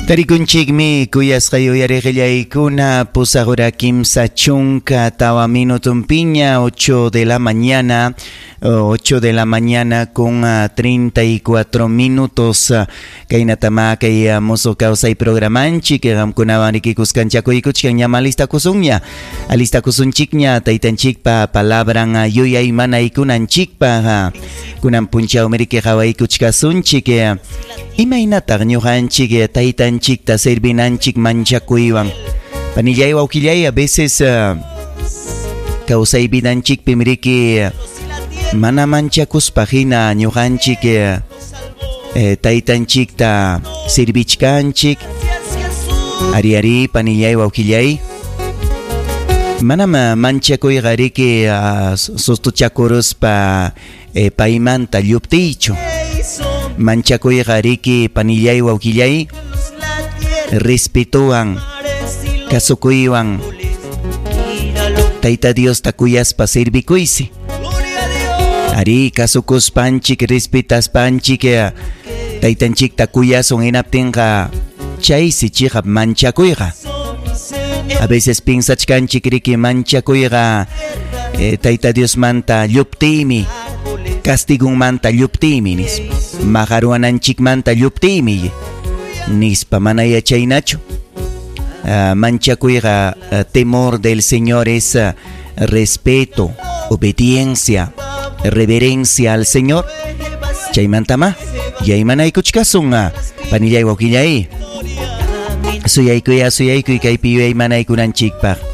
Tarikunchikmi kuyasqay uyariqillaykuna pusaq hora 34 minutunpiña 8 de la mañana 8 de la mañana con 34 minutos kaynatama kay musuq kawsay programanchik qamkunawan rikikuskanchakuykuchkan ñam alistakusunña alistakusunchikña taytanchikpa palabran yuyaymanaykunanchikpaq kunan punchawmi riki qawaykuchkasunchik imaynataq ñuqanchik taytanchikta servinanchik manchakuywan panillay wawqillay a veces kawsay vidanchikpim riki mana manchakuspa hina ñuqanchik taytanchikta servichkanchik ari ari panillay wawqillay manam manchakuyqa riki sustuchakuruspa paymanta lluptiychu manchakuyqa riki panillay wawqillay respetuwan kasukuywan Tayta Diosta kuyaspa servikuysi ari kasukuspanchik respetaspanchik taytanchikta kuyasun hinaptinqa chaysi chiqap manchakuyqa a veces piensachkanchik riki manchakuyqa Tayta Diosmanta lluptiymi castigunmanta lluptiymi nispa maqaruwananchikmanta lluptiymi nispa mana yachaynachu manchakuyqa temor del Señor es respeto, obediencia, reverencia al Señor. Chaymantama yaymanaykuchkasun panillay wawqillay suyaykuy suyaykuy kaypi yuyaymanaykunanchikpaq.